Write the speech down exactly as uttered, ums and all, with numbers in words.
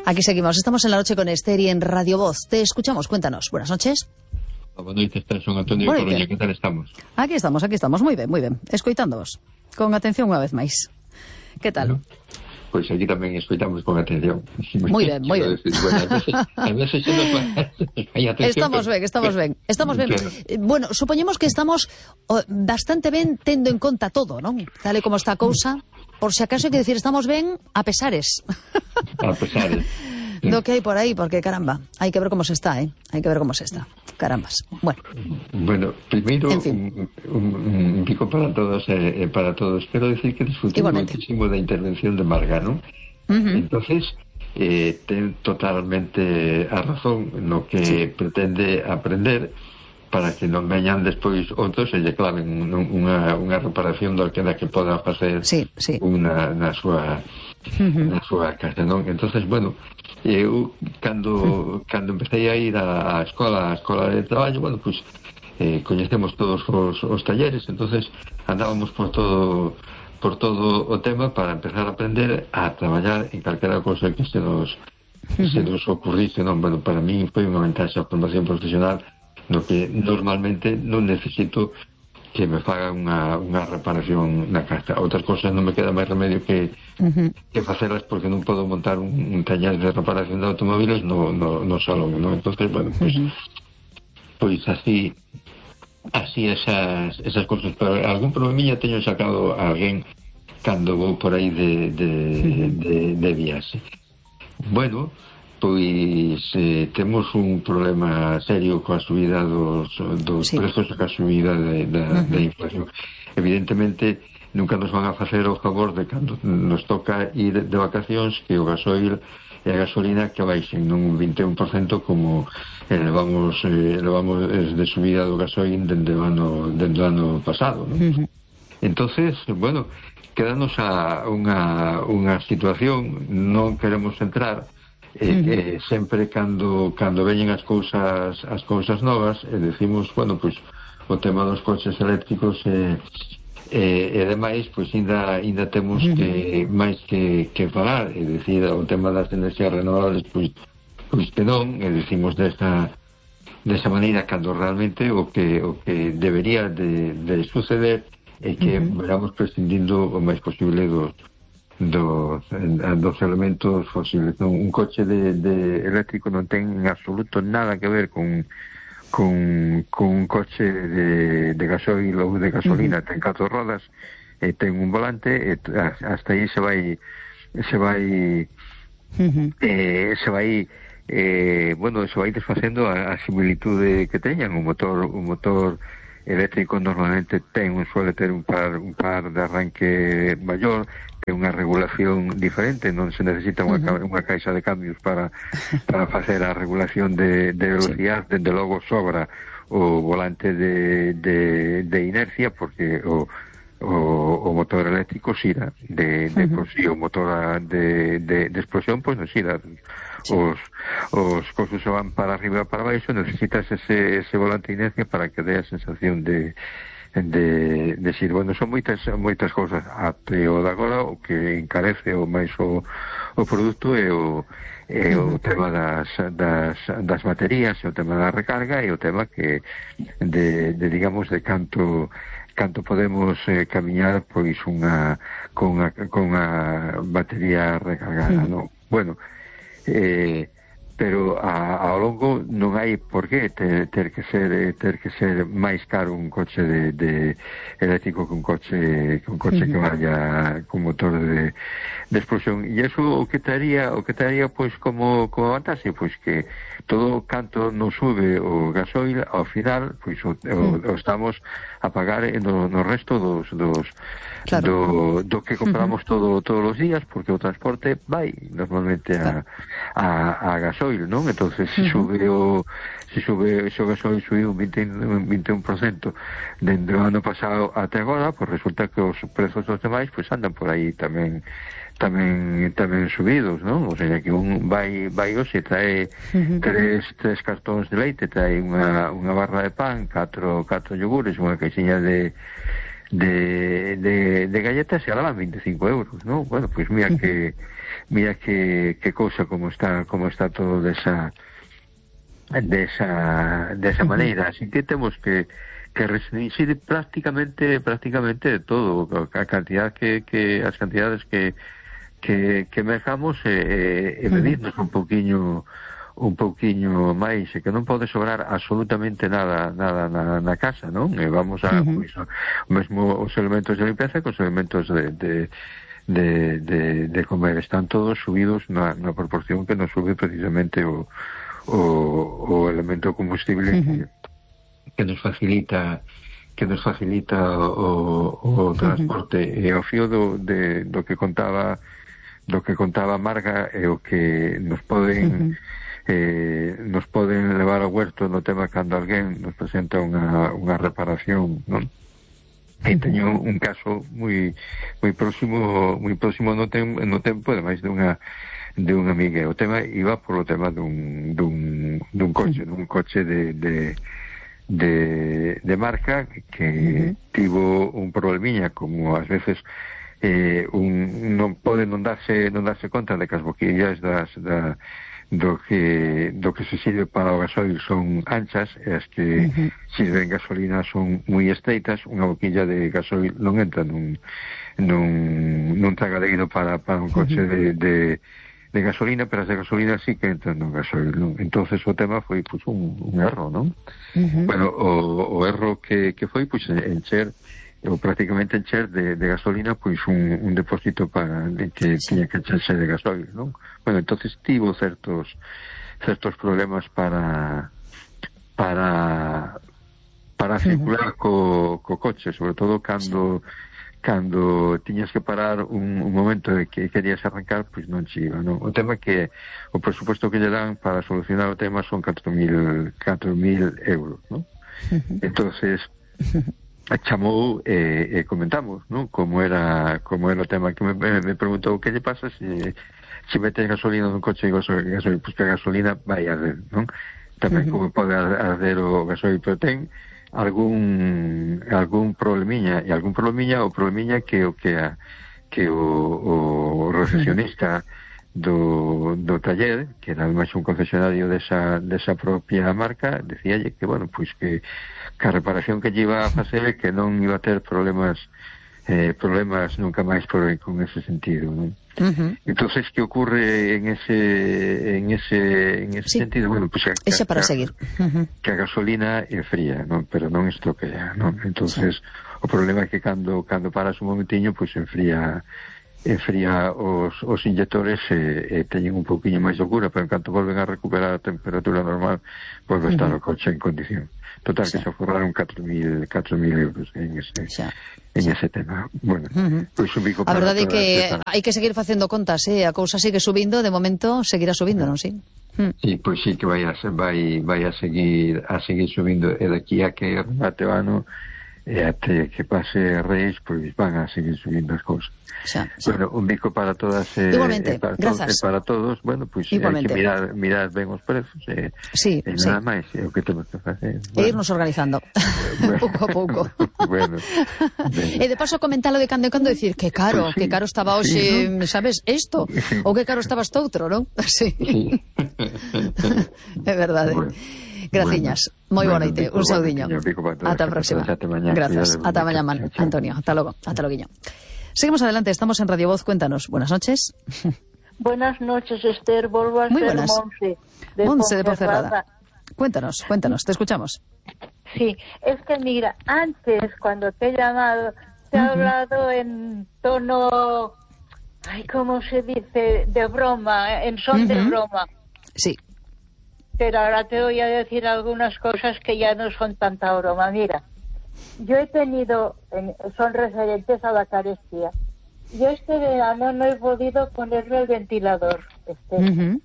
Aquí seguimos, estamos en la noche con Esther y en Radio Voz. Te escuchamos, cuéntanos. Buenas noches. Buenas noches, Esther, son Antonio de Coruña, ¿qué tal estamos? Aquí estamos, aquí estamos, moi ben, moi ben. Escoitándoos, con atención unha vez máis. Que tal? Bueno, pois pues aquí tamén escoitamos con atención. Moi ben, moi ben. Bueno, a veces, a veces se nos va... Estamos ben, estamos ben, estamos ben. Claro. Bueno, supoñemos que estamos oh, bastante ben tendo en conta todo, non? Tal e como está a cousa, por se acaso hai que decir estamos ben a pesares. A pesares. Do que hai por aí, porque caramba, hai que ver como se está, eh? Hai que ver como se está. Carambas. Bueno. Bueno, primeiro, en fin. un, un, un pico para todos e eh, para todos. Espero decir que disfruté muchísimo da intervención de Margano. Uh-huh. Entonces, eh, ten totalmente a razón no que sí. pretende aprender para que non veñan despois outros e lle claven unha, unha reparación do que da que poda facer sí, sí. unha na súa uh-huh. na súa casa, non? Entonces, bueno, eu cando uh-huh. cando empecé a ir á escola, á escola de traballo, bueno, pois pues, eh, coñecemos todos os, os talleres, entonces andábamos por todo por todo o tema para empezar a aprender a traballar en calquera cosa que se nos uh-huh. se nos ocurrice, non? Bueno, para mí foi unha ventaxa a formación profesional no que normalmente non necesito que me faga unha, unha reparación na casa. Outras cosas non me queda máis remedio que, uh-huh. que facelas porque non podo montar un, un taller de reparación de automóviles no, no, no salón, ¿no? Entonces, bueno, pues, uh-huh. pues así así esas, esas cosas. Pero algún problemilla teño sacado a alguén cando vou por aí de, de, uh-huh. de, de viaxe. Bueno, pois eh, temos un problema serio coa subida dos, dos sí. prezos e coa subida de, de, uh-huh. de inflación. Evidentemente nunca nos van a facer o favor de cando nos toca ir de vacacións que o gasoil e a gasolina que baixen non un vinte e un por cento como elevamos, eh, elevamos de subida do gasoil dende o ano, dende o ano pasado, ¿no? Uh-huh. Entonces, bueno, quedanos a unha, unha situación, non queremos entrar Eh, uh-huh. eh, sempre cando cando veñen as cousas as cousas novas e eh, decimos, bueno, pois pues, o tema dos coches eléctricos e eh, eh, e demais, pois pues, ainda ainda temos uh-huh. que máis que, que falar, é dicir, o tema das enerxías renovables, pois pois que non, e decimos desta desa maneira cando realmente o que o que debería de, de suceder é que uh-huh. veramos prescindindo o máis posible dos dos, dos elementos fósiles. Un coche de, de eléctrico non ten en absoluto nada que ver con con, con un coche de, de gasoil ou de gasolina. Uh-huh. Ten catro rodas, e ten un volante, e hasta aí se vai se vai uh-huh. eh, se vai eh, bueno, se vai desfacendo a, a similitude que teñan. Un motor un motor eléctrico normalmente ten un suele ter un par un par de arranque maior, ten unha regulación diferente, non se necesita unha, uh-huh. unha caixa de cambios para para facer a regulación de, de velocidade. Sí. Dende logo sobra o volante de, de, de inercia, porque o o, o motor eléctrico xira de, de uh-huh. por si o motor de, de, de explosión pois non xira. Sí. os os cosos se van para arriba e para baixo, necesitas ese, ese volante de inercia para que dé a sensación de de, de xir. Bueno, son moitas moitas cousas. Até o de agora o que encarece o máis o, o produto é o é o tema das, das, das baterías, o tema da recarga e o tema que de, de digamos de canto canto podemos eh, camiñar pois unha con a, con a batería recargada, mm. non? Bueno, eh, pero a, ao longo non hai por que ter, ter que ser ter que ser máis caro un coche de, de eléctrico que un coche que un coche mm. que vaya con motor de, de explosión. E iso o que taría o que taría pois como como vantaxe, pois que todo canto non sube o gasoil, ao final pois o, mm. o, o estamos a pagar no, no resto dos, dos claro. do, do que compramos uh-huh. todo todos os días, porque o transporte vai normalmente a, a, a gasoil, non? Entonces se uh-huh. sube o se sube o gasoil subiu un vinte, un vinte e un por cento dende o ano pasado até agora, pois pues resulta que os prezos dos demais pois pues andan por aí tamén tamén tamén subidos, non? O sea, que un vai vai hoxe trae uh-huh. tres tres cartóns de leite, trae unha unha barra de pan, catro catro yogures, unha caixinha de de de de galletas e alaban vinte e cinco euros, non? Bueno, pois pues mira uh-huh. que mira que, que cousa como está como está todo desa desa desa maneira, así que temos que que restringir prácticamente prácticamente de todo, a cantidad que, que as cantidades que que, que mercamos e, e medirnos un pouquiño un pouquiño máis, e que non pode sobrar absolutamente nada nada na, na casa, non? E vamos a, uh-huh. pois, mesmo os elementos de limpeza que os elementos de, de De, de, de comer están todos subidos na, na proporción que nos sube precisamente o, o, o elemento combustible uh-huh. que, que nos facilita que nos facilita o, o transporte uh-huh. e ao fío do, de, do que contaba do que contaba Marga e o que nos poden uh-huh. eh, nos poden levar ao huerto no tema cando alguén nos presenta unha, unha reparación, non? E teño un caso moi moi próximo, moi próximo no, tem, no tempo, ademais de unha de unha amiga. O tema iba por o tema dun dun dun coche, dun coche de de de, de marca que uh-huh. tivo un problemiña, como ás veces eh, un non pode non darse non darse conta de que as boquillas das da do que do que se sirve para o gasoil son anchas e as que uh-huh. sirven gasolina son moi estreitas. Unha boquilla de gasoil non entra nun nun, nun tragadeiro para, para un coche uh-huh. de, de, de gasolina, pero as de gasolina sí que entran nun gasoil, non? Entonces o tema foi pues, un, un erro, non? Uh-huh. Bueno, o, o erro que, que foi pues, encher ou prácticamente encher de, de gasolina pois un, un depósito para de que sí. tiña que echarse de gasoil, non? Bueno, entonces tivo certos certos problemas para para para circular uh-huh. co, co coche, sobre todo cando cando tiñas que parar un, un momento de que querías arrancar, pois non che iba, non? O tema que o presupuesto que lle dan para solucionar o tema son catro mil euros, non? Uh-huh. Entonces chamou e, e comentamos, non? Como era como era o tema que me, me, me preguntou que lle pasa se se metes gasolina nun coche e gasolina, gasolina, pues que a gasolina vai a arder, non? Tamén uh-huh. como pode arder o gasolina, pero ten algún algún problemiña, e algún problemiña o problemiña que o que a, que o, o recepcionista do, do taller, que era máis un concesionario desa, desa propia marca, decíalle que, bueno, pois que que a reparación que lle iba a facer é que non iba a ter problemas eh, problemas nunca máis por con ese sentido, non? Uh-huh. Entonces, ¿qué ocurre en ese en ese en ese sí. sentido? Bueno, pues que, ese para que, seguir. Uh-huh. Que a gasolina é fría, non? Pero non estropea, non? Entonces, sí. o problema é que cando cando paras un momentiño, pues enfría enfría os, os inyectores e, e teñen un pouquiño máis de cura, pero en canto volven a recuperar a temperatura normal, volve a estar uh-huh. o coche en condición. Total, sí. que se forraron catro mil euros en ese, en ese tema. Bueno, uh-huh. pois un bico a verdade é que hai que seguir facendo contas, eh? A cousa sigue subindo, de momento seguirá subindo, non si? Uh-huh. Sí, pois sí que vai a, vai, vai a seguir a seguir subindo, e daqui a que remate o ano e até que pase Reis, pois van a seguir subindo as cousas. Xa, xa. Bueno, un bico para todas e, Igualmente, e para, grazas. todos, e para todos, bueno, pois pues, hai que mirar, mirar ben os prezos e, sí, e sí. nada máis, é o que temos que facer. Bueno. E irnos organizando, bueno. pouco a pouco. Bueno, e de paso comentalo de cando en cando, decir que caro, pues sí, que caro estaba hoxe, sí, ¿no? Sabes, isto, sí. ou que caro estaba este outro, non? Sí. sí. É verdade. Bueno. Graciñas, bueno, moi bueno, boa noite, un saudiño. Ata a próxima. Grazas, ata mañá, Antonio. Ata logo, ata loguiño. Seguimos adelante, estamos en Radio Voz, cuéntanos. Buenas noches. Buenas noches, Esther. Volvo a Muy ser buenas. Monse de, Monse de Ponferrada. Cuéntanos, cuéntanos, te escuchamos. Sí, es que mira, antes cuando te he llamado, te he uh-huh. hablado en tono, ay, ¿cómo se dice? De broma, en son uh-huh. de broma. Sí. Pero ahora te voy a decir algunas cosas que ya no son tanta broma. Mira, yo he tenido, son referentes a la carestía. Yo este verano no he podido ponerme el ventilador. Este. Uh-huh.